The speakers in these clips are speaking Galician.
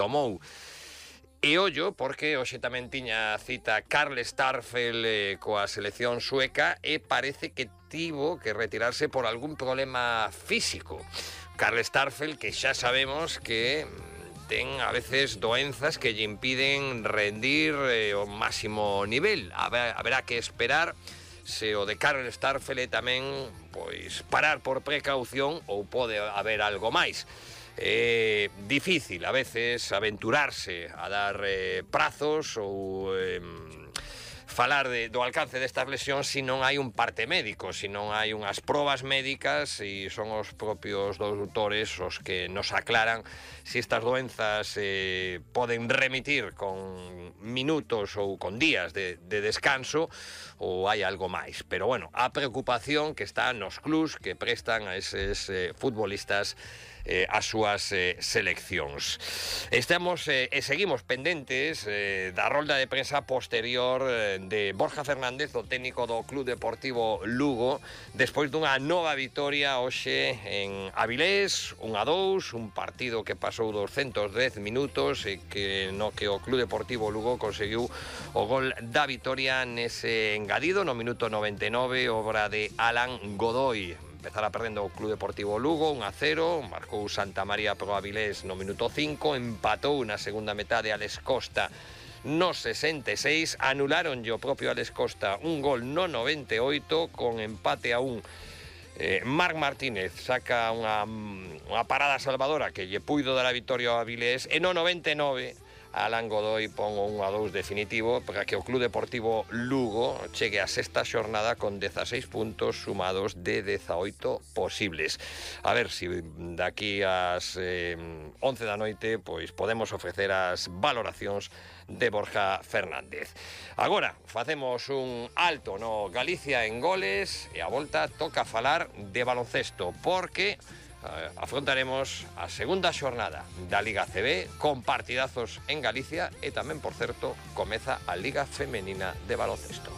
tomou. E ollo, porque hoxe tamén tiña cita Karl Starfelt coa selección sueca e parece que tivo que retirarse por algún problema físico. Karl Starfelt, que xa sabemos que ten a veces doenzas que lle impiden rendir o máximo nivel. Haberá que esperar se o de Karl Starfelt é tamén pois parar por precaución ou pode haber algo máis. É difícil a veces aventurarse a dar prazos ou falar do alcance destas lesións se non hai un parte médico, se non hai unhas probas médicas e son os propios doutores os que nos aclaran se estas doenzas poden remitir con minutos ou con días de descanso ou hai algo máis. Pero bueno, a preocupación que está nos clubs que prestan a eses futbolistas as súas seleccións. Estamos e seguimos pendentes da rolda de prensa posterior de Borja Fernández, o técnico do Club Deportivo Lugo, despois dunha nova vitoria hoxe en Avilés, 1-2, un partido que pasou 210 minutos e que no que o Club Deportivo Lugo conseguiu o gol da vitoria nese engadido no minuto 99, obra de Alan Godoy. Empezara perdendo o Club Deportivo Lugo 1-0, marcou Santa María pro Avilés no minuto 5, empatou na segunda metade Alex Costa no 66, anularon o propio Alex Costa un gol no 98 con empate a 1. Marc Martínez saca unha parada salvadora que lle puido dar a vitoria ao Avilés e no 99 Alan Godoy pon o 1-2 definitivo para que o Club Deportivo Lugo chegue a sexta xornada con 16 puntos sumados de 18 posibles. A ver se daqui ás 11 da noite pois podemos ofrecer as valoracións de Borja Fernández. Agora facemos un alto no Galicia en goles e a volta toca falar de baloncesto porque afrontaremos a segunda xornada da Liga CB con partidazos en Galicia e tamén, por certo, comeza a Liga Femenina de baloncesto.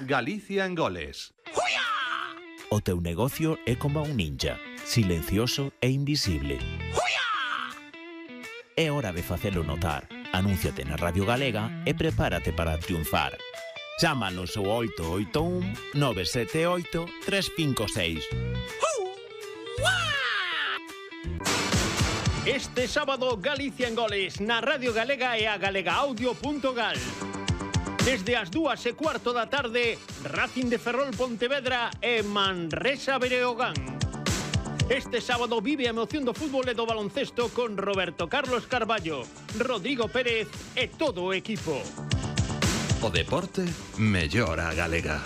Galicia en goles. O teu negocio é como un ninja, silencioso e invisible. É hora de facelo notar. Anúnciate na Radio Galega e prepárate para triunfar. Chámanos ao 881 978 356. Este sábado Galicia en goles na Radio Galega e a galegaaudio.gal. Desde as 2:15 da tarde, Racing de Ferrol Pontevedra e Manresa Breogán. Este sábado vive a emoción do fútbol e do baloncesto con Roberto Carlos Carballo, Rodrigo Pérez e todo o equipo. O deporte mellora a galega.